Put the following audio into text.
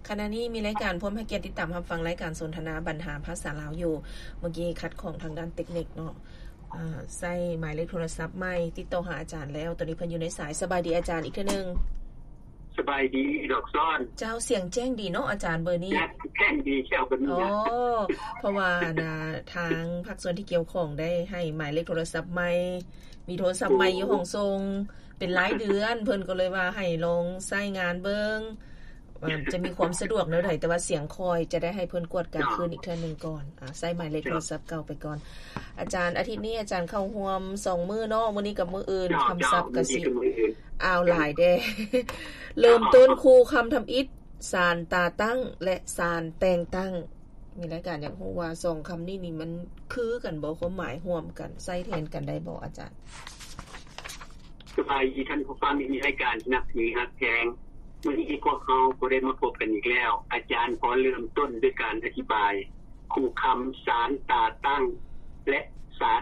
ຂະນະນີ້ມີລາຍການພວມໃຫ້ກຽດຕິດຕາມຮັບຟັງລາຍການສົນທະນາບັນຫາພາສາລາວຢູ່. ເມື່ອກີ້ຂັດຂ້ອງທາງດ້ານເຕັກນິກເນາະ, ອາ ໃຊ້ໝາຍເລກໂທລະສັບໃໝ່ຕິດຕໍ່ຫາອາຈານແລ້ວ. ຕອນນີ້ເພິ່ນຢູ່ໃນສາຍ. ສະບາຍດີອາຈານອີກເທື່ອໜຶ່ງ. ສະບາຍດີດອກຊອນ. ເຈົ້າ, ສຽງແຈ້ງດີເນາະອາຈານເບີນີ້. ແຈ້ງດີແຊວເປັນ ອໍ ເພາະວ່າ ອັນນ່າ ທາງພາກສ່ວນທີ່ກ່ຽວຂ້ອງໄດ້ໃຫ້ໝາຍເລກໂທລະສັບໃໝ່, ມີໂທລະສັບໃໝ່ຢູ່ຫ້ອງສົ່ງ ເປັນລາຍເດືອນ, ເພິ່ນກໍເລີຍວ່າໃຫ້ລອງໃຊ້ງານເບິ່ງ ວ່າຈະມີຄວາມສະດວກແນວໃດ, ແຕ່ວ່າສຽງຄ່ອຍ ຈະໄດ້ໃຫ້ເພິ່ນກວດກາຄືນອີກເທື່ອໜຶ່ງກ່ອນ. ອາ ໃຊ້ໝາຍເລກໂທລະສັບເກົ່າໄປກ່ອນ. ອາຈານ ອາທິດນີ້ອາຈານເຂົ້າຮ່ວມສອງມື້ເນາະ, ມື້ນີ້ກັບມື້ອື່ນ ເຈົ້າ ຄ່ຳສັບກະຊິ ມື້ອື່ນ ອ້າວ ຫຼາຍແດ່. ເລີ່ມຕົ້ນຄູ່ຄຳທຳອິດ, ສານຕາຕັ້ງ ແລະ ສານແຕ່ງຕັ້ງ. ມີລາຍການຢາກຮູ້ວ່າສອງຄຳນີ້ນີ້ມັນຄືກັນບໍ່? ຄວາມໝາຍຮ່ວມກັນ ໃຊ້ແທນກັນໄດ້ບໍ່ອາຈານ? ສະບາຍດີທ່ານຜູ້ຟັງທີ່ມີລາຍການທີ່ນັບຖືຮັກແພງ. ມື້ນີ້ພວກເຮົາກໍໄດ້ມາພົບກັນອີກແລ້ວ. ອາຈານຂໍເລີ່ມຕົ້ນດ້ວຍການອະທິບາຍຄູ່ຄຳສານຕາຕັ້ງ ແລະ ສານ